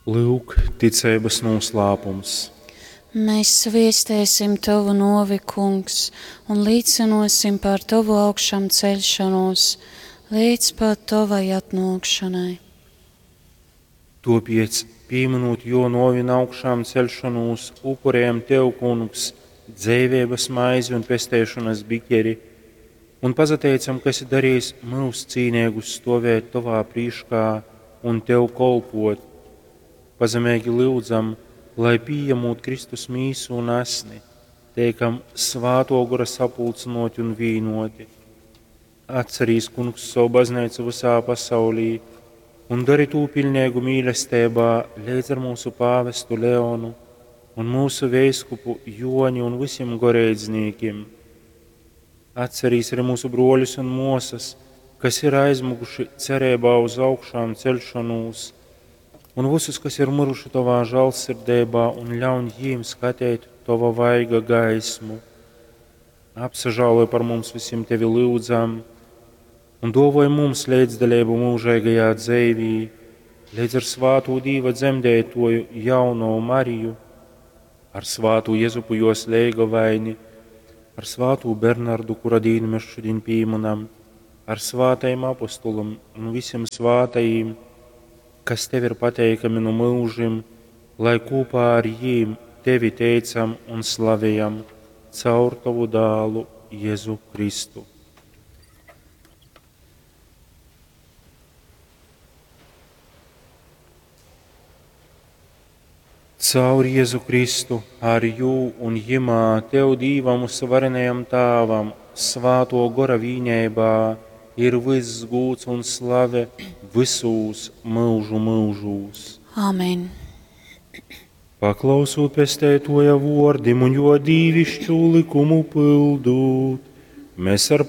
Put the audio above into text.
Lyuk, ticeibys nūslāpums. Mēs sviestēsim Tovu novi, Kungs, un līcinosim par Tovu augšām ceļšanos līdz pat Tovai atnākšanai. Topiec, pīminūt jo novi un augšām celšanos, upurējam Tev, Kungs, dzeiveibas maizi un pesteišanas biķeri, un pazateicam, ka esi darījis mūs cīnīgus stovēt Tovā prīškā un Tev kolpot. Pazemeigi lyudzam, lai pījemūt Kristus mīsu un asni, teikam svāto gora sapulcynoti un vīnoti. Atcerīs, Kungs, savu baznīcu visā pasaulī un dari tū pilnīgu mīlestībā līdz ar mūsu pāvestu Leonu un mūsu veiskupu Joni un visiem goreidznīkim. Atcerīs arī mūsu broļus un mosas, kas ir aizmuguši cerībā uz augšām celšanos, un visus, kas ir miruši Tavā žēlsirdībā, un ļauj jīm skatīt Tava vaiga gaismu. Apsažāloj par mums visiem Tevi lūdzam, un dovoj mums līdzdalību mūžīgajā dzīvī, līdz ar svāto Dīva dzemdētoju jauno Mariju, ar svātu Jezupu jos leigavaini, ar svātu Bernardu, kura dīnu mēs šodien pīminam, ar svātajiem apostulam un visiem svātajiem, kas tev ir pateikami no mūžim, lai kopā ar jīm tevi teicam un slavējam caur tavu dālu Jēzu Kristu. Caur Jēzu Kristu, ar jū un jimā, Tev Dīvam uzvarenajam Tāvam, svāto gora vīņēbā, ir viss gūts un slave visūs mūžu mūžūs. Āmen. Paklausūt pestētoja vordim un jo dīvišķu likumu pildūt, mēs ar